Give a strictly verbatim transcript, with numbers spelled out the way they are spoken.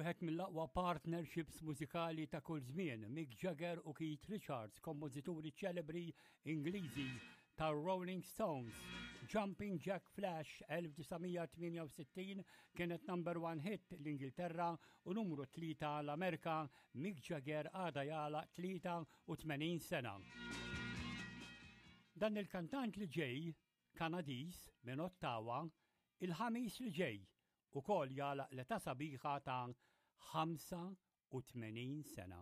Wieħed mill-aqwa partnerships mużikali ta' kull żmien, Mick Jagger u Keith Richards, kompożituri ċelebri Ingliżi ta' Rolling Stones. Jumping Jack Flash elf disa' mija tmienja u sittin kienet number one hit l-Ingilterra u numru tlieta l-Amerika. Mick Jagger għada jagħlaq tlieta u tmenin sena. Dan il-kantant li ġej, Kanadiż minn Ottawa, il-Ħamis li ġej ukoll jagħlaq l-età sabiħa ta' ħamsa u tmenin sena.